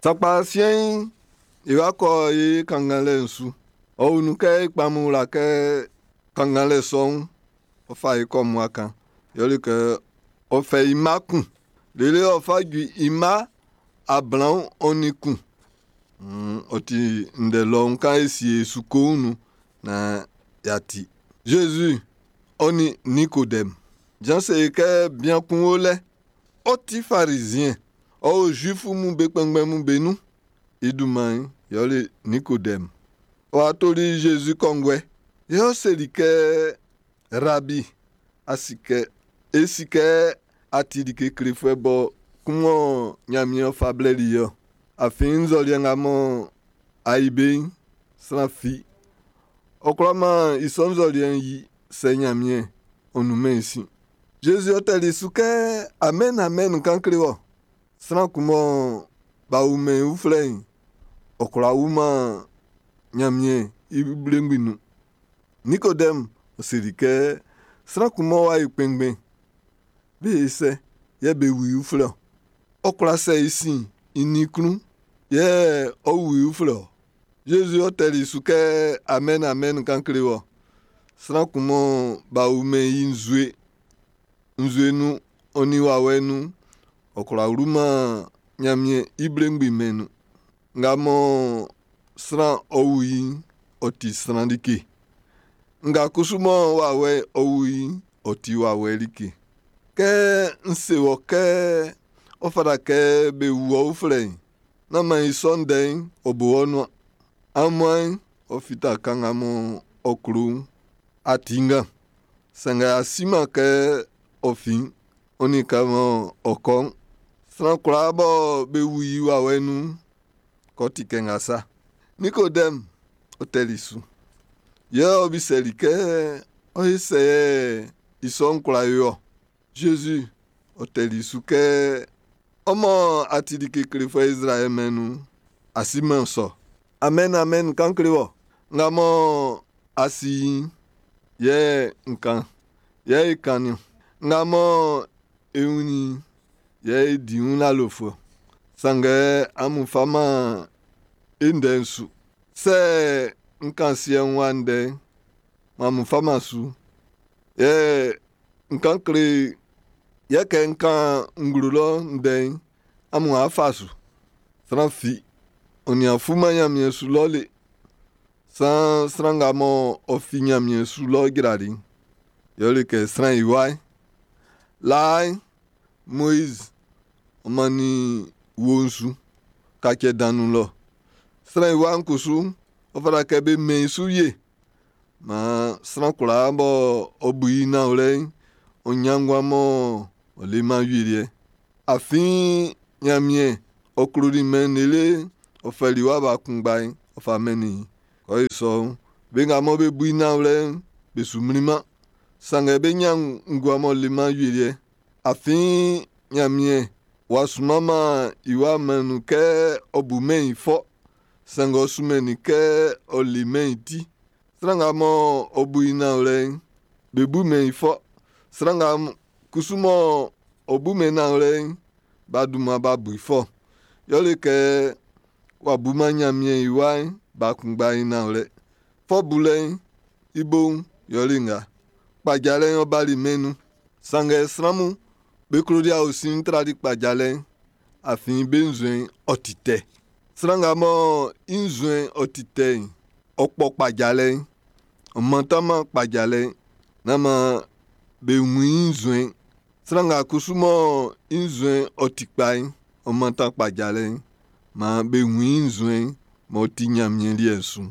Sakpa siɛn'n, e wa kɔ e kannganlɛ'n su. Ɔ wun kɛ e kpamun wla kɛ kannganlɛ sɔ'n, ɔ fa e kɔ mmua kan. Yɛle kɛ ɔ fɛ i mma kun, lele ɔ fa ju i mma 21. Ɔ ti ndɛ lɔun kan e sie e su koun nun naan y'a ti. Zezi ɔ nin Nikodɛm. Jan se e kɛ bian kun o lɛ, ɔ ti Farizien, ɔ o Zuifu mun be kpɛnngbɛn mun be nun. I dunman'n yɛle Nikodɛm. Ɔ wa toli Zezi kɔnguɛ. Yɛ ɔ seli kɛ, Rabi, a si kɛ, e si kɛ a ti like klefuɛ bɔ kun mɔ Ɲanmiɛn fa blɛli i ɔ. Afin nzɔliɛ nga mɔ a yi be'n, sran fi ɔ kwlaman i sɔ nzɔliɛ'n yi sɛ Ɲanmiɛn ɔ nunmɛn i sin. Zezi ɔ tɛli su kɛ, Amɛn, amɛn, n kan kle wɔ. Sran kun mɔ b'a wumɛn i uflɛ'n, ɔ kwlá wunman Ɲanmiɛn i mblengbi nun. Nikodɛm ɔ seli kɛ, sran kun mɔ w'a yi kpɛnngbɛn, be ye sɛ yɛ be wu i uflɛ ɔ. Ɔ kwla sɛ i sin i nin klun yɛ ɔ wu i uflɛ ɔ. Zezi ɔ tɛli su kɛ, Amɛn, amɛn, n kan kle wɔ. Sran kun mɔ b'a wumɛn i nzue, nzue nun ɔ nin wawɛ nun'n, ɔ kwlá wluman Ɲanmiɛn i mblengbi mɛn'n nun. Nga mɔ sran ɔ wu i'n, ɔ ti sran like. Nga kusu mɔ wawɛ ɔ wu i'n, ɔ ti wawɛ like. Kɛ n se wɔ kɛ ɔ fata kɛ be wu ɔ uflɛ'n, nán maan i sɔ ndɛ'n ɔ bo ɔ nuan. Aunmuan'n ɔ fita kan nga mɔ ɔ klo'n, a ti ngan. Sanngɛ a siman kɛ ɔ fin, ɔ nin kan mɔ ɔ kɔ'n. Sran kwlaa bɔ be wu i wawɛ nun'n, k'ɔ ti kɛ nga sa. Nikodɛm ɔ tɛli su. Yɛ ɔ bisɛli kɛ, ɔ ye sɛ yɛ i sɔ'n kwla yo ɔ. Zezi ɔ tɛli su kɛ, ɔ mɔ a ti like klefuɛ Izraɛl mɛn'n nun'n, a siman sɔ. Amɛn, amɛn, n kan kle wɔ. Nga mɔ a si i'n, yɛ n kan, yɛ e kan niɔn. Nga mɔ e wunnin i'n, yɛ e di wun lalofuɛ. Sanngɛ amun faman e ndɛ'n su. Sɛ n kan siɛ'n wa ndɛ'n, amun faman su. Yɛ n kan kle, yɛ kɛ n kan nglo lɔ ndɛ'n, amun a fa su. Sran fi, ɔ nin a fuman Ɲanmiɛn su lɔ le. San sran nga mɔ ɔ fi Ɲanmiɛn su lɔ jrali'n, yɛle kɛ sran i wa'n. Laa'n, Moiz ɔ mannin wuo'n su kacɛ dan nun lɔ. Sran i wa'n kusu, ɔ fata kɛ be mɛn i su wie. Maan sran kwlaa bɔ ɔ bu i nanwlɛ'n, ɔ ɲan nguan mɔ ɔ leman awieliɛ'n. Afin Ɲanmiɛn ɔ kloli mɛn'n lele ɔ fɛli i wa ba kunngba'n ɔ fa mɛnnin i. Kɔ i sɔ'n, be nga mɔ be bu i nanwlɛ'n, be su mlinman. Sanngɛ be ɲan nguan m'ɔ leman awieliɛ'n. Afin Ɲanmiɛn w'a sunmanman i wa mɛn'n nun kɛ ɔ bu mɛn'n i fɔ. Sanngɛ ɔ sunmɛnnin kɛ ɔ le mɛn'n i ti. Sran nga mɔ ɔ bu i nanwlɛ'n, be bumɛn i fɔ. Sran nga kusu mɔ ɔ bumɛn nanwlɛ'n, b'a dunman b'a bu i fɔ. Yɛle kɛ w'a buman Ɲanmiɛn i wa'n ba kunngba'n i nanwlɛ. Fɔ bulɛ'n i bo'n yɛle nga. Kpajalɛ'n ɔ bali mɛn'n nun. Sanngɛ sran mun be kloli aosin'n trali kpajalɛ'n, afin be nzuɛn'n ɔ ti tɛ. Sran nga mɔ i nzuɛn'n ɔ ti tɛ'n, ɔ kpɔ kpajalɛ'n, ɔ mantanman kpajalɛ'n, nán maan be wun i nzuɛn'n. Sran nga kusu mɔ i nzuɛn'n ɔ ti kpa'n, ɔ mantan kpajalɛ'n, maan be wun i nzuɛn'n m'ɔ ti Ɲanmiɛn liɛ'n su'n.